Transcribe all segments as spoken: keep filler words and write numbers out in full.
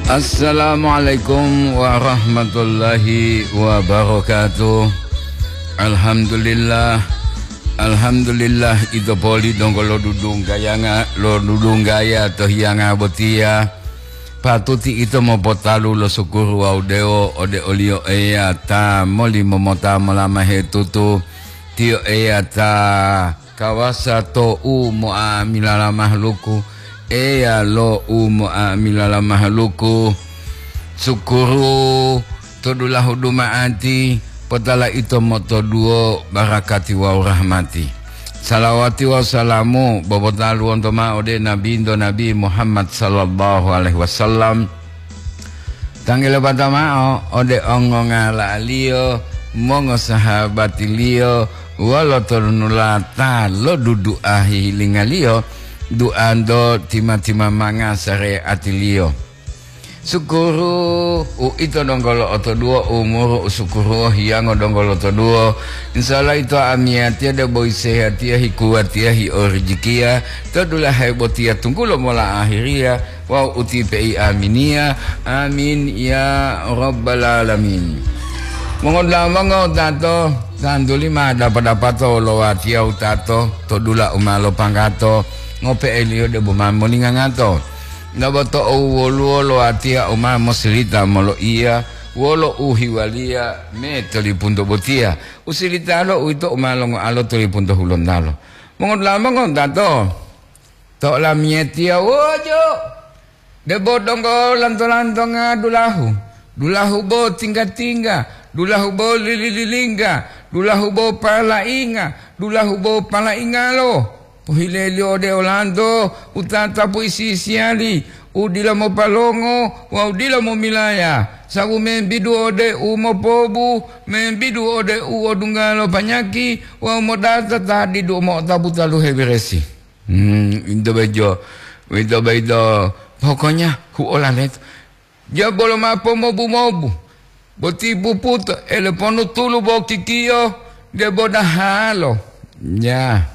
Assalamualaikum warahmatullahi wabarakatuh. Alhamdulillah. Alhamdulillah, ito poli donggo lodudunggayanga, lodudunggaya to hiyanga botiya. Patuti ito mopotalu lo sukuru wawu dewo ode oliyo Eya ta molimo mota molamahe tutu. Tiyo Eya ta kawasa to u mo'amilala mahaluku, Eya lo u mo'amilala mahaluku. Sukuru to dulahu duma'ati, potala ito motoduwo barakati wawu rahmati. Salawati wawu salamu bobotalu wonto ma'o ode Nabinto Nabi Muhammad sallallahu alaihi wasallam. Tanggele pata ma'o ode ongongala'aliyo, mongosahabatiliyo, wolo tonulata lo dudu'a hihilingaliyo, duanto tima-timamanga sareatiliyo. Sukuru, uito donggo lo'otoduwo umuru, usukuru hiyango donggo lotoduwo. Insya Allah ito amiyatiya debo isehatiya, hikuwatiya, hiorijikiya, to dulahe botiya tunggulo mola ahiriya, wawu utipe'i aminiya. Amin ya rabbal alamin. Mongodulamango tato, tantuli ma dapa-dapato lo watiya utato, to dula u ma lopanggato, ngope'eliyo debo ma molingangato. Naboto owwoluwo lo watiya u ma mosilita moloiya wolo uhiwaliya me tolipunto botiya. Usilitalo uwito u ma longoalo tolipunto hulontalo. Mongodulamango tato, to olamiyatiya wojo, debo donggo lanto-lantonga dulahu, dulahu bo tingga-tingga, dulahu bo lili-lilingga, dulahu bo palainga, dulahu bo palaingalo. Pohileliyo ode olanto u tatapu isi-isiyali, u dila mopalongo wawu dila momilaya, sabu membidu ode u mopobu, membidu ode u odungga lo panyaki wawu modata ta didu mo'otapu taluhe beresi. Hmm, into bejo, into bejo, pokoknya huola leto. Jabolo ma pomobu-mobu, boti puputo, ele ponu tulu bo kikiyo, debo dahalo. Ya.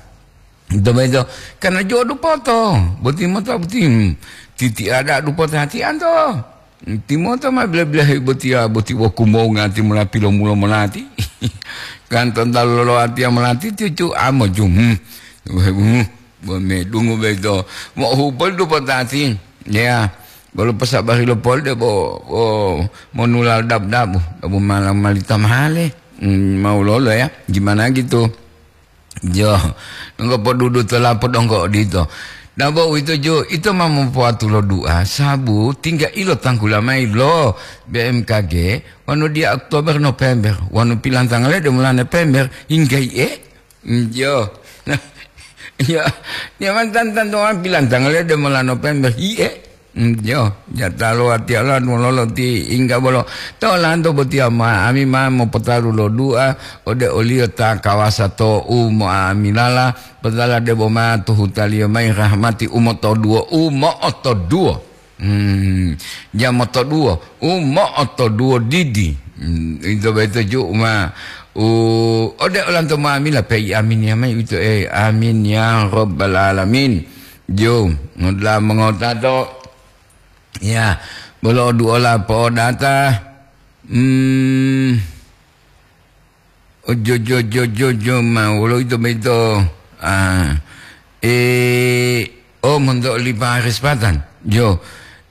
Into bejo, karena jo dupoto, boti mota boti, hmm, titi ada dupoto hati anto. Timoto ma bile-bilehe botiya, boti wokumonga timola pilomulo monati. Kan tontalo loloatiya monati cucu amo jum. Hmm. Hmm. Bo medungu beto. Mo hupol dupotati. Ya. Bolo posabari lo pol de bo, bo monulal dab-dabu. Dabu malam malita mahale. Hmm, mau lolo ya. Gimana gitu? Jo, nonggo podudu to lapo donggo odito. Nabo uwito jo, ito ma mopoatu lo du'a, sabu tingga ilo tanggula mayi lo B M K G, wonu diya Oktober, November, wonu pilantangale de mola November, hingga iye? Jo. Jo. Dia mantan-tantu pilantangale de mola November, iye? Mm, jo, jatalo watiya la mololo ti ingga bolo. To lanto botiya ma, ami ma mopotalu lo du'a ode oliyo ta kawasa to u mo'amilala, potala debo ma tuhutaliyo mayi rahmati u motoduwo, u mo'otoduwo. Hmm, ja motoduwo, u mo'otoduwo didi. Hmm, ito boyito ju ma u ode olanto ma'amila peyi amin ya mayi uwito, eh, amin ya rabbal alamin. Jo, ngoda'a mongotato. Ya, bolo duola po'odata. Hmm. Ojo, jo, jo, jo, jo, ma wolo ito boyito. Ah. Eh, oh, monto oli Paris Patan. Jo.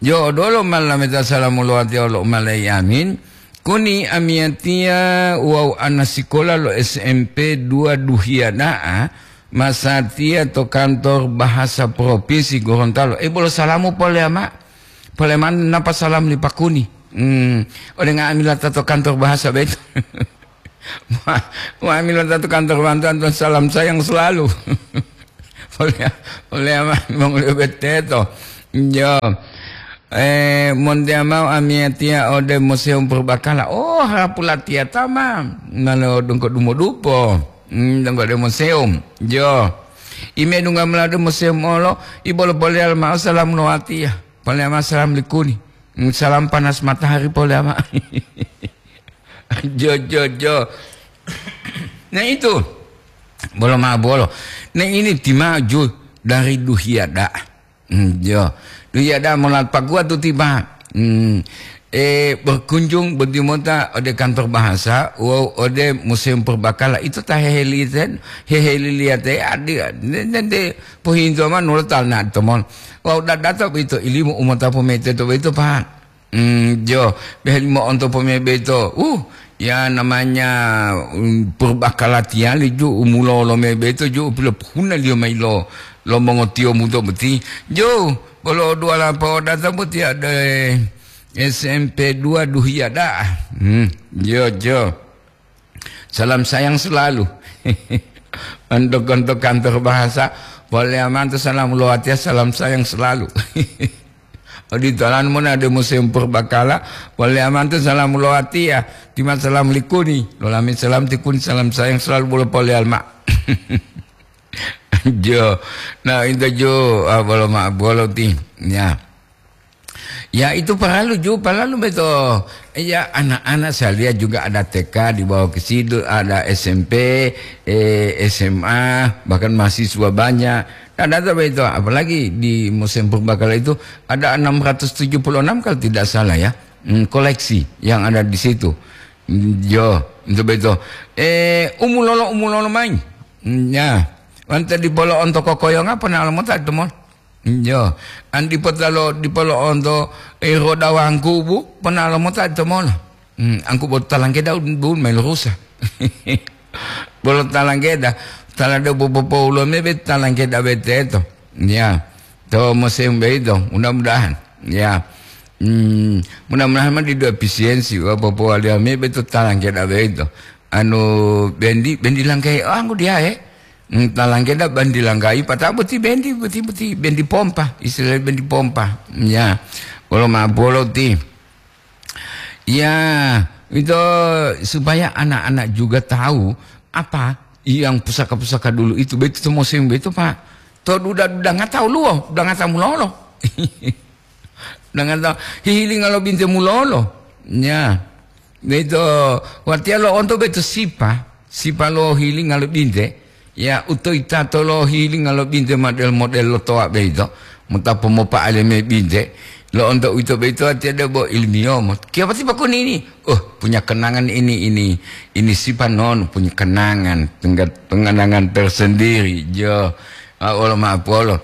Jo, odolo malameta salamu lowatiya wolo umalayi amin. Kuni amiyatiya wawu ana sikola lo S M P dua duhiya da'a, masatiya to kantor bahasa provinsi Gorontalo. Eh, bolo salamu poleyama. Poleman napa salam li Pakuni. Hmm, ode nga'amila ta to kantor bahasa beto. Wa-, nga'amila ta to kantor bantuan to salam sayang selalu. Oleh, oleh ama mongoliyo beteto. Jo. Eh, montea mao amiyatiya ode Museum Purbakala. Oh, harapu latiya tama. Nalo dongko dumodupo. Hmm, dongko de museum. Jo. Ime dunga mula de museum olo, ibolo poleyal mao salam lowatiya. Poleyama salam likuni. Salam panas matahari poleyama. Jo, jo, jo. Nah itu. Bolo ma bolo. Nah ini timaju dari duhiya da'a. Hmm, jo. Duhiya da'a mola paguwa tu tiba. Hmm. Eh, berkunjung boti mota ode kantor bahasa, wawu ode Museum Purbakala. Ito ta heheliten-, heheliliyate adi, nende pohinto ma nulo tal na tomon. Wawu dadata boyito ilimu u mota pomete to boyito, Pak. Hmm, jo, beheli mo'onto pomebe to. Uh, ya namanya, um, Purbakala tiyali ju umulolo mebe to ju pilopohuna liyo mayi lo, lo mongotiyo muto boti. Jo, bolo duwala po'odata boti ada, eh, S M P dua Duhiya da'a. Hmm, jo, jo. Salam sayang selalu. Untuk, untuk kantor bahasa, boleh amanto salam lo watiya, salam sayang selalu. Oditolan mona de Museum Purbakala, boleh amanto salam lo watiya, tima salam likuni, lolami salam tikuni, salam sayang selalu bolo pole alma. Jo, nah, itu jo, ah, bolo ma, bolo ti, ya. Ya, itu paralu ju, paralu beto. Ya, anak-anak saya lihat juga ada T K di bawah ke situ, ada S M P, eh, S M A, bahkan mahasiswa banyak. Nah, data beto, apalagi di Museum Purbakala itu ada enam ratus tujuh puluh enam kalau tidak salah ya, hmm, koleksi yang ada di situ. Hmm, yo, itu beto. Eh, umulolo, umulolo main. Hmm, ya, wante di polo onto kokoyonga pernah lama tak temon. Yo, an dipotalo, dipolo'onto, eh, roda wangkubu, ponalo mota to mola. Hmm, angku bolo talanggeda un, bun mailurusa. Bolo talanggeda, talade popopoulo mebe talanggeda beteto. Ya, to musim beito, mudah-mudahan. Ya. Hmm, mudah-mudahan mah didu efisiensi, wa popowaliya mebe to talanggeda beito. Anu, bendi, bendi langkai, oh, angku dia, eh. Hmm, talanggeda bandi langgayi, pata'o boti bendi, boti, boti bendi pompa, istilah bendi pompa. Ya, wolo ma'o bolo ti. Ya, itu supaya anak-anak juga tahu apa yang pusaka-pusaka dulu itu, begitu musim begitu, Pak. To duda-duda nggak tahu luo, udah nggak tahu mulolo. Dengan ta-, hihilinga lo binte mulolo. Ya. Beito, watiya lo'onto beito sipa, sipa lo hihilinga lo binte. Ya, utoyitato lo hihilinga lo binte model-model lo towa beito, mota pomopa'ale me binte. Lo'onto uwito beito watiya debo ilmiyomo. Kiyopati pakuni ini? Oh, punya kenangan ini, ini, ini sipa non, punya kenangan, tengga-, kenangan tersendiri. Jo, ah, wolo ma'o polo.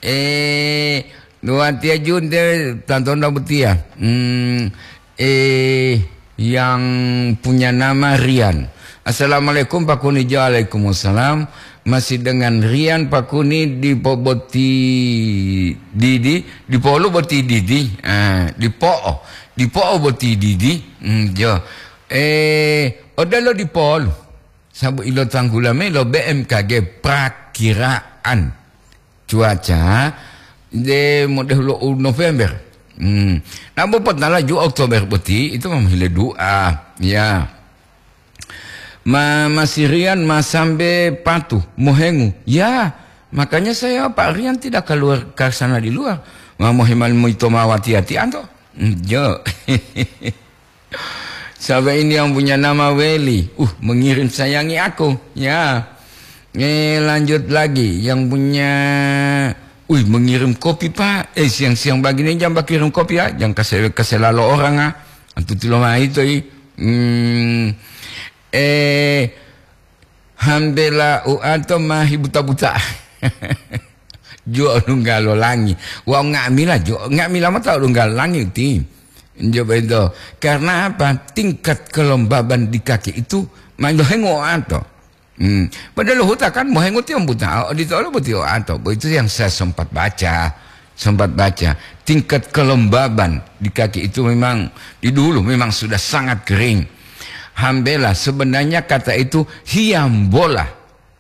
Eh, Watiya ju nte tantonda botiya. Hmm, eh, yang punya nama Rian. Assalamualaikum, Pak Kuni. Waalaikumsalam. Masih dengan Rian, Pak Kuni, di po boti didi, di polu boti didi. Ah, di po'o, di po'o boti didi. Hmm, jo. Eh, odelo di polu. Sabu ilo tanggula me lo B M K G prakiraan cuaca de modehu lo u November. Hmm. Nabo potala ju Oktober boti, itu mah hile dua. Ya. Ma, masirian ma sambe patu, mohengu. Ya, makanya saya Pak Rian tidak keluar ke sana di luar. Ma mohemal moito ma wati-wati anto. Hmm, jo. Siapa ini yang punya nama Weli? Uh, mengirim sayangi aku. Ya. Eh, lanjut lagi. Yang punya, wih, mengirim kopi, Pak. Eh, siang-siang begini jangan kirim kopi, ya. Jangan kasih, kasih lalu orang, ah. Antu tilo mai to, i. Hmm. Eh, Hambela uato ma hibuta-buta. Jo lunggalo langi. Wau nga'amila jo, nga'amila mota lunggalo langi ti. Jo bento. Karena apa? Tingkat kelembaban di kaki itu ma lohengo uato. Hmm. Padahal huta kan mohengo tiyo buta, odito olo boti uato. Bo itu yang saya sempat baca. Sempat baca, tingkat kelembaban di kaki itu memang di dulu memang sudah sangat kering. Hambela, sebenarnya kata itu hiambola.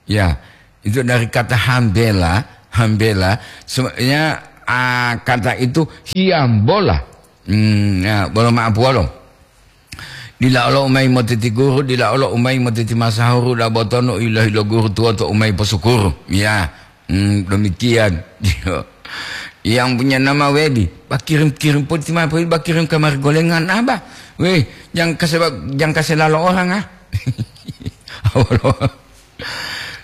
Ya, itu dari kata hambela, hambela, sebenarnya, ah, kata itu hiambola. Hmm, ya, bolo maaf, bolo. Dila olo umai motiti guru, dila olo umai motiti masahuru, da botono ilohi lo guru tuwoto umai posukuru. Ya, hmm, demikian. Yang punya nama Wedi, bakirim-kirim poti ma, bakirim kamari golengan, Abah. Weh, jang kase, jang kase lalo orang, ah. Awalo.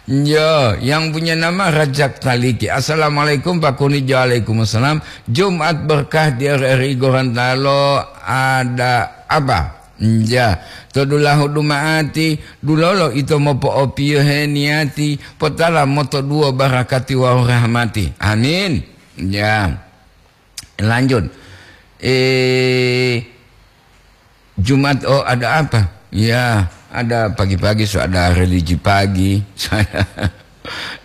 Yo, yang punya nama Rajak Taliki. Assalamualaikum, Pak Kuni. Waalaikumsalam. Jumat berkah di R R I Gorontalo, ada apa? Ya, to dulahu duma'ati, dulolo ito mopo'opiyohe niyati, potala motoduwo barakati wawu rahmati. Amin. Ya. Lanjut. Eh, Jumat, oh, ada apa? Ya, ada pagi-pagi so ada religi pagi.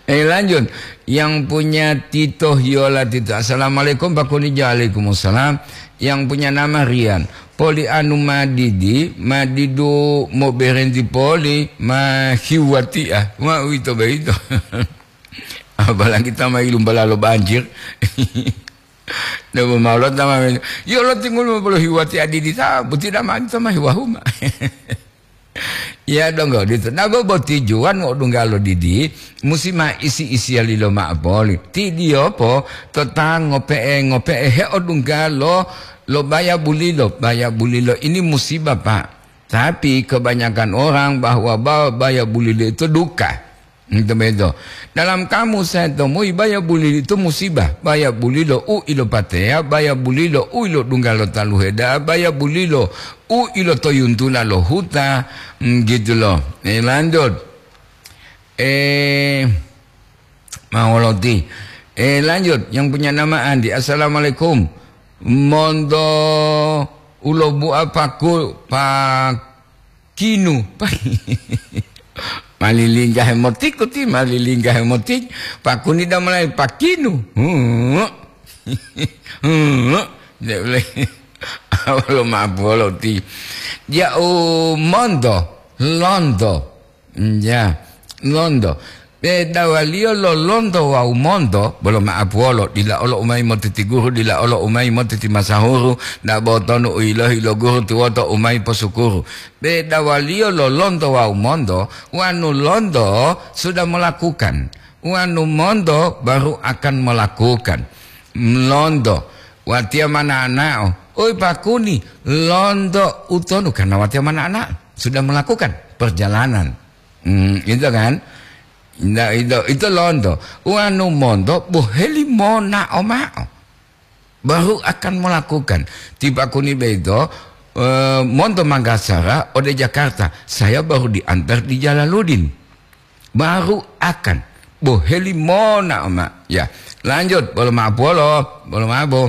Eh, lanjut. Yang punya Tito Hiola Tito. Assalamualaikum, Pak Kuni. Waalaikumsalam. Yang punya nama Rian. Poli anu madidi, madidu mo berenti poli, ma hiwati ah. Ma uwito boyito. Apalagi ta ma ilumbalalo banjir. Debo maulo tama, yo lo tingulu bolo hiwati adidi ta, buti damani tama hiwahuma. Ya donggo ditu. Dabo boti juwan mo dunggalo didi, musi ma isi-isiyalilo ma'o poli. Ti diyopo to ta ngope'e-ngope'e heodunggalo lo baya bulilo. Baya bulilo ini musibah, Pak. Tapi kebanyakan orang bahwa ba-, baya bulilo itu duka. Ito beto. Dalam kamus saya temui baya bulilo itu musibah. Baya bulilo u ilo pateya, baya bulilo u ilo dungga lo taluheda, baya bulilo u ilo toyuntula lo huta, mm, gitu loh. Eh, lanjut. Eh, mawoloti. Eh, lanjut. Yang punya nama Andi. Assalamualaikum. Monto ulo bua paku, pa-, kinu. Malilingga hemotiku ti, malilingga hemotik. Pakuni damulai pakinu. Hu. Hu. Nde ule. Awalo mabolo ti. Ja'u monto, lonto. Ya, lonto. Bedawaliyo lo lonto wawu monto, bolo ma'apuwolo, dila olo umayi motiti guru, dila olo umayi motiti masahuru, dabo tonu u yilohi lo guru tuwoto umayi posukuru. Bedawaliyo lo lonto wawu monto, wanu lonto sudah melakukan, wanu monto baru akan melakukan. Lonto, watiya mananao, oi pakuni, lonto utonu karena watiya mananao, sudah melakukan perjalanan. Hmm, gitu kan? Nah, itu, itu lonto. Wanu monto boheli monao ma'o. Baru akan melakukan. Tiba kuni beto, eh, monto Manggasara ode Jakarta. Saya baru diantar di Jalaluddin. Baru akan. Boheli monao ma. Ya. Lanjut. Bolo ma'apuwolo. Bolo ma'apo.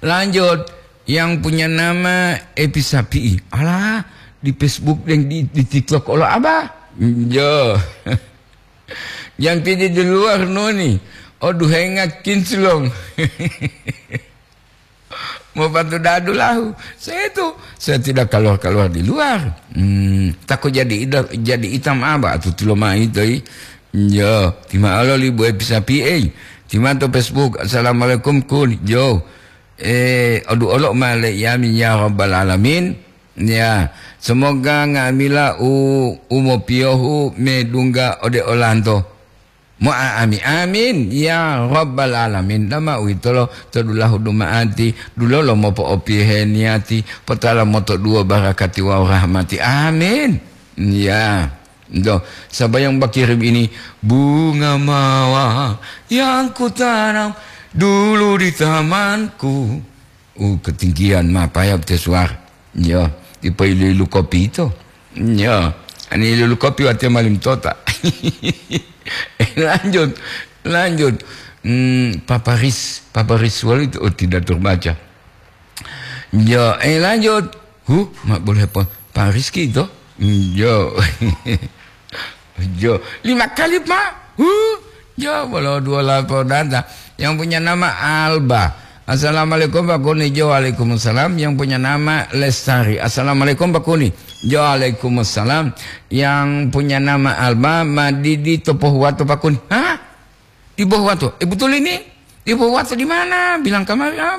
Lanjut, yang punya nama Epi Sapi'i. Alah, di Facebook dan di, di TikTok olo aba? Yo. Yang tidak di luar noni. Oh, duhenga kinclong. Mau bantu dadu lahu. Saya itu, saya tidak keluar-keluar di luar. Hmm, takut jadi ida-, jadi hitam apa atau tuloma itu, i? Yo, tima alo libu Epi Sapi'i. Tima to Facebook. Assalamualaikum, kun. Yo. Eh, odu olo ma le yami ya rabbal alamin. Ya, semoga nga'amila u, u mopiyohu medungga ode olanto. Mo'a'ami, amin, ya rabbal alamin. Dama uwitolo to dulahu duma'ati, dulolo mopo'opiyohe niyati, potala motoduwo barakati wawu rahmati. Amin. Ya. Doh, sabayang bakirim ini, bunga mawar yang kutanam dulu di tamanku. Uh, ketinggian ma payap te suara. Yo, dipo ilu-ilu kopi ito. Yo, ani ilu-ilu kopi watiya malim tota. Lanjut, lanjut. Hmm, Paparis, Paparis walu itu, oh, tidak terbaca. Yo, eh, lanjut. Huh, mak boleh apa? Pak Rizky itu? Yo. Yo, lima kali, Pak. Huh? Yo, bolo dua lapor data. Yang punya nama Alba. Assalamualaikum, Pak Kuni. Jo, waalaikumsalam. Yang punya nama Lestari. Assalamualaikum, Pak Kuni. Jo, waalaikumsalam. Yang punya nama Alba, Madidi Topohuwato, Pak Kuni. Hah? Di Bohuwato. Eh, betul ini? Di Bohuwato di mana? Bilang kemarin, ah,